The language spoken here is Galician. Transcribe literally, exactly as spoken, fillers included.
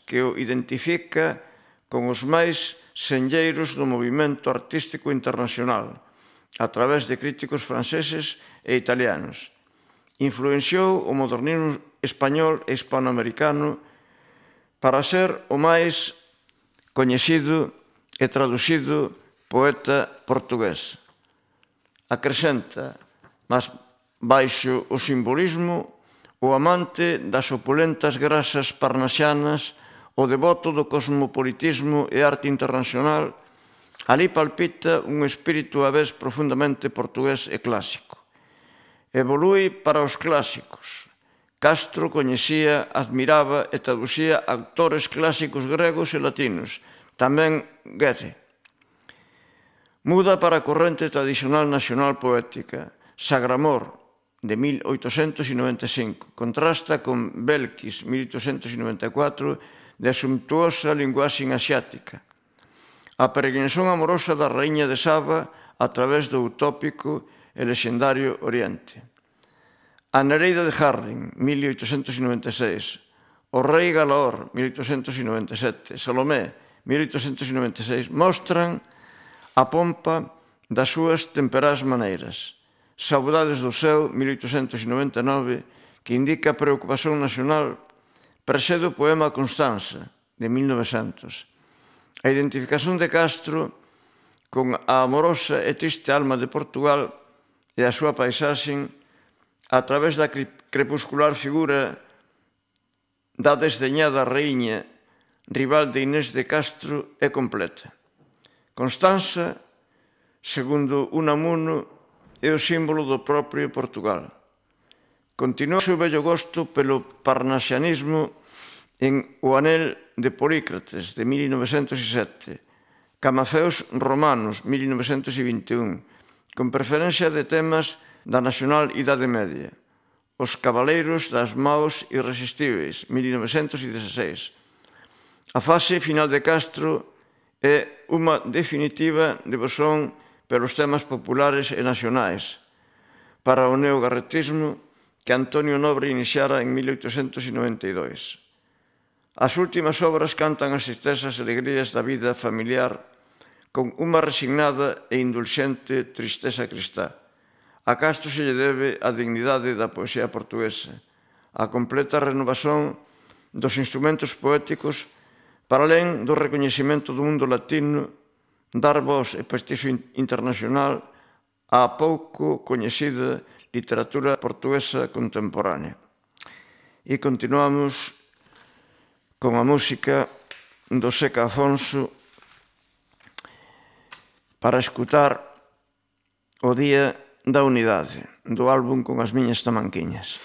que o identifica con os máis senlleiros do movimento artístico internacional, a través de críticos franceses e italianos. Influenciou o modernismo español e hispanoamericano para ser o máis coñecido e traducido poeta portugués. Acrescenta, mas baixo o simbolismo, o amante das opulentas grasas parnasianas, o devoto do cosmopolitismo e arte internacional, ali palpita un espírito a vez profundamente portugués e clásico. Evolui para os clásicos. Castro coñecía, admiraba e traducía autores clásicos gregos e latinos, tamén Goethe. Muda para a corrente tradicional nacional poética. Sagramor, de mil oitocentos noventa e cinco, contrasta con Belkis, mil oitocentos noventa e catro, de sumptuosa linguaxe asiática. A peregrinación amorosa da raíña de Saba a través do utópico e lexendario Oriente. A Nereida de Harding, mil oitocentos noventa e seis. O rei Galaor, mil oitocentos noventa e sete. Salomé, mil oitocentos noventa e seis, mostran a pompa das súas temperás maneiras. Saudades do céu, mil oitocentos noventa e nove, que indica a preocupación nacional, precede o poema Constanza, de mil novecentos. A identificación de Castro con a amorosa e triste alma de Portugal e a súa paisaxe a través da crepuscular figura da desdeñada raíña rival de Inés de Castro é completa. Constanza, segundo Unamuno, é o símbolo do propio Portugal. Continúa o seu vello gosto pelo parnasianismo en O anel de Polícrates, de mil novecentos sete, Camafeos romanos, mil novecentos vinte e un, con preferencia de temas da nacional Idade Media. Os cabaleiros das maos irresistíveis, mil novecentos dezasseis. A fase final de Castro é unha definitiva devoción pelos temas populares e nacionais, para o neogarretismo que Antonio Nobre iniciara en mil oitocentos noventa e dous. As últimas obras cantan as tristezas e alegrías da vida familiar con unha resignada e indulxente tristeza cristá. A Castro se lle debe a dignidade da poesía portuguesa, a completa renovación dos instrumentos poéticos para alén do recoñecemento do mundo latino, dar voz e prestixio internacional á pouco coñecida literatura portuguesa contemporánea. E continuamos con a música do Seca Afonso para escutar O Día da Unidade, do álbum Con as miñas tamanquiñas.